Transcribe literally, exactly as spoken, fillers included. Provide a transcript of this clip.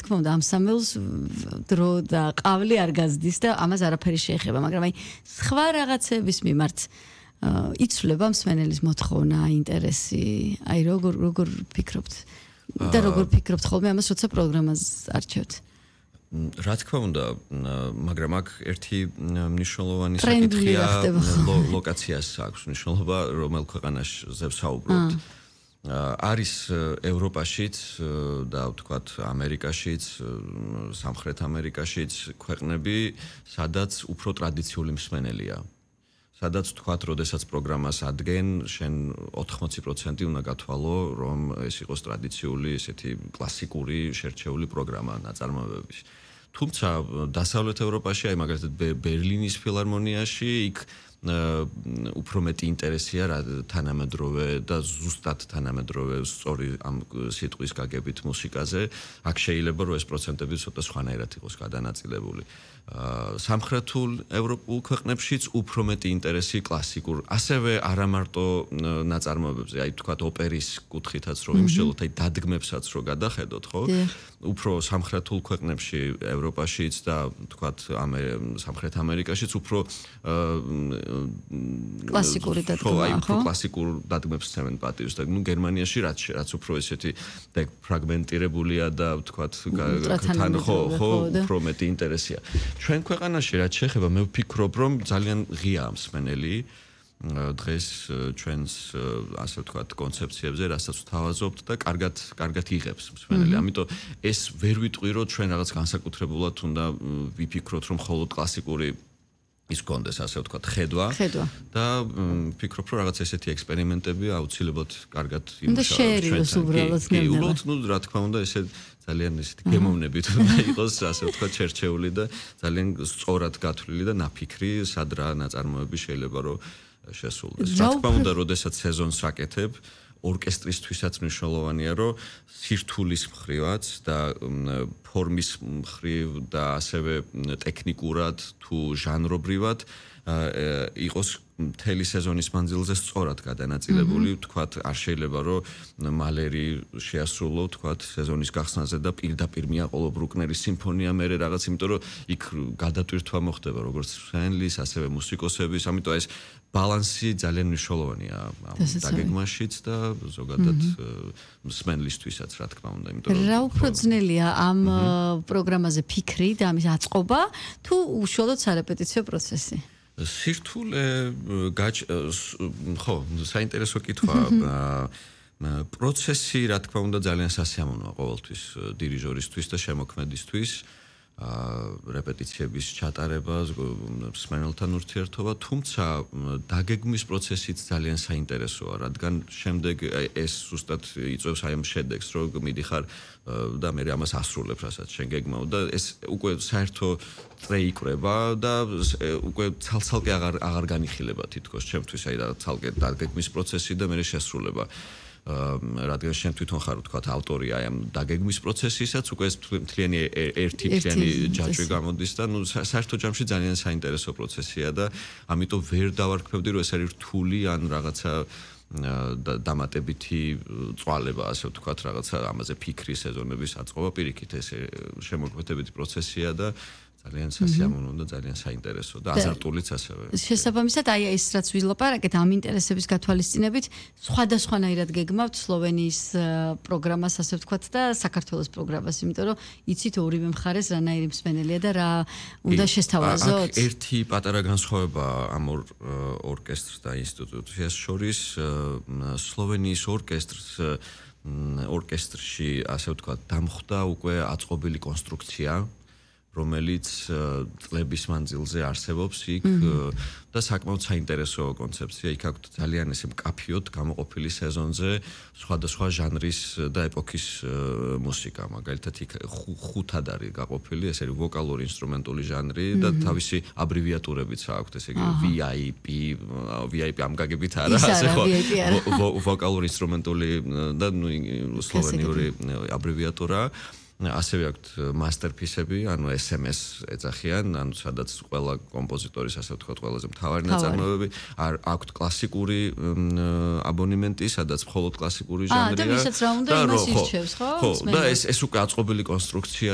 თქმა უნდა ამ სამეულს დრო და ყავლი არ გაზდის და ამას არაფერი შეეხება, მაგრამ აი სხვა რაღაცების მიმართ იცვლება მსმენელის მოთხოვნა, ინტერესი, აი როგორ როგორ ფიქრობთ და როგორ ფიქრობთ ხოლმე ამას, როცა პროგრამას არჩევთ? რა თქმა უნდა, მაგრამ აქ ერთი მნიშვნელოვანი საკითხია ლოკაციას აქვს მნიშვნელობა, რომელ ქვეყანაზე ვსაუბრობთ. არის ევროპაშიც და ვთქვათ ამერიკაშიც, სამხრეთ ამერიკაშიც ქვეყნები, სადაც უფრო ტრადიციული მსმენელია. სადაც ვთქვათ, როდესაც პროგრამას ადგენენ, შენ ოთხმოცი პროცენტი უნდა გათვალო, რომ ეს იყოს ტრადიციული, ესეთი კლასიკური, შერჩეული პროგრამა ნაწარმოებების. თუმცა დასავლეთ ევროპაში, აი მაგალითად ბერლინის ფილარმონიაში, იქ უფრო მეტი ინტერესია რა თანამედროვე და ზუსტად თანამედროვე სწორი ამ სიტყვის გაგებით მუსიკაზე. აქ შეიძლება რომ ეს პროცენტები ცოტა სხვანაირად იყოს გადანაწილებული. სამხრეთულ ევროპულ ქვეყნებშიც უფრო მეტი ინტერესი კლასიკურ, ასევე არა მარტო ნაწარმოებებზე, აი თქვათ ოპერის კუთხითაც რომ იმშელოთ, აი დადგმებსაც რომ გადახედოთ, ხო? უფრო სამხრეთულ ქვეყნებში, ევროპაშიც და თქვათ სამხრეთ ამერიკაშიც უფრო კლასიკური დადგმა, ხო? კლასიკურ დადგმებს ცემენ პატივს და ნუ გერმანიაში რაც რაც უფრო ესეთი და ფრაგმენტირებულია და ვთქვათ თან ხო ხო უფრო მეტი ინტერესია. ჩვენ ქვეყანაში რაც შეეხება, მე ვფიქრობ, რომ ძალიან ღია მსმენელი დღეს ჩვენს ასე ვთქვათ კონცეფციებზე, რასაც ვთავაზობთ და კარგად კარგად იღებს მსმენელი. ამიტომ ეს ვერ ვიტყვი, რომ ჩვენ რაღაც განსაკუთრებულად უნდა ვიფიქროთ, რომ მხოლოდ კლასიკური ის კონდეს ასე ვთქვათ ხედვა და ვფიქრობ, რომ რაღაც ესეთი ექსპერიმენტები აუცილებლად კარგად იმუშავებს ჩვენს უბრალოდ ნებდება. ნუ რა თქმა უნდა, ესე ძალიან ესეთი გემოვნებით უნდა იყოს, ასე ვთქვათ, შერჩეული და ძალიან სწორად გათვლილი და ნაფიქრი, სად რა ნაწარმოები შეიძლება რომ შესულდეს. რა თქმა უნდა, როდესაც სეზონს აკეთებ, ორკესტრისთვისაც მნიშვნელოვანია, რომ სირთულის მხრივაც და ფორმის მხრივ და ასევე ტექნიკურად თუ ჟანრობრივად იყოს მთელი სეზონის მანძილზე სწორად გადანაწილებული, ვთქვათ, არ შეიძლება რომ მალერი შეასრულო, ვთქვათ, სეზონის გახსნაზე და პირდაპირ მიაყოლო ბრუკნერის სიმფონია მერე რაღაც, იმიტომ რომ იქ გადატვირთვა მოხდება როგორც მსმენელის, ასევე მუსიკოსების, ამიტომ ეს ბალანსი ძალიან მნიშვნელოვანია ამ დაგეგმაშიც და ზოგადად მსმენელისთვისაც, რა თქმა უნდა, იმიტომ რომ რა უფრო ძნელია ამ პროგრამაზე ფიქრი და ამის აწყობა თუ უშუალოდ სარეპეტიციო პროცესი? სირთულე ხო, საინტერესო კითხვა. პროცესი, რა თქმა უნდა, ძალიან სასიამოვნოა ყოველთვის დირიჟორისთვის და შემოქმედისთვის. რეპეტიციების ჩატარება, მსმენელთან ურთიერთობა, თუმცა დაგეგმვის პროცესიც ძალიან საინტერესოა, რადგან შემდეგ ეს ზუსტად იწვევს აი ამ შედეგს, რომ მიდიხარ და მე ამას ასრულებ, რასაც შენ გეგმავ და ეს უკვე საერთო წრე იკვრება და უკვე ცალ-ცალკე აღარ აღარ განიხილება თითქოს ჩემთვის აი და ცალკე დაგეგმვის პროცესი და მე შესრულება. რადგან შენ თვითონ ხარ ვთქვათ ავტორი აი ამ დაგეგმვის პროცესისაც, უკვე ეს მთლიანი ერთი მთლიანი ჯაჭვი გამოდის და ნუ საერთო ჯამში ძალიან საინტერესო პროცესია და ამიტომ ვერ დავარქმევდი, რომ ეს არის რთული ან რაღაცა დამატებითი წვალება, ასე ვთქვათ, რაღაცა ამაზე ფიქრი სეზონების აწყობა, პირიქით ეს შემოქმედებითი პროცესია და ძალიან სასიამოვნო და ძალიან საინტერესო და აზარტულიც ასევე. შესაბამისად, აი ეს რაც ვილაპარაკეთ ამ ინტერესების გათვალისწინებით, სხვადასხვანაირად გეგმავთ სლოვენიის პროგრამას, ასე ვთქვათ, და საქართველოს პროგრამას, იმიტომ რომ იცით ორივე მხარეს რანაირი მსმენელია და რა უნდა შესთავაზოთ. აქ ერთი პატარა განსხვავება ამ ორკესტრს და ინსტიტუციას შორის, სლოვენიის ორკესტრს ორკესტრში, ასე ვთქვათ, დამხვდა უკვე აწყობილი კონსტრუქცია, რომელიც წლების მანძილზე არსებობს იქ და საკმაოდ საინტერესო კონცეფცია. იქ აქვს ძალიან ესე მკაფიოდ გამოყოფილი სეზონზე სხვადასხვა ჟანრის და ეპოქის მუსიკა. მაგალითად იქ ხუთად არის გაყოფილი, ეს არის ვოკალური ინსტრუმენტული ჟანრი და თავისი აბრივიატურებიც აქვს, ესე იგი ვი აი პი, ვი აი პი ამ გაგებით არა, ასე ხო. ვოკალური ინსტრუმენტული და ნუ სლოვენიური აბრივიატურა. ასევე აქვთ მასტერპისები, ანუ ეს ემ ეს ეძახიან, ანუ სადაც ყველა კომპოზიტორის, ასე ვთქვათ, ყველაზე მთავარი ნაწარმოებები, აქვთ კლასიკური აბონემენტი, სადაც მხოლოდ კლასიკური ჟანრია. და ვისაც რა უნდა იმას ირჩევს, ხო? ხო, და ეს ეს უკვე აწყობილი კონსტრუქცია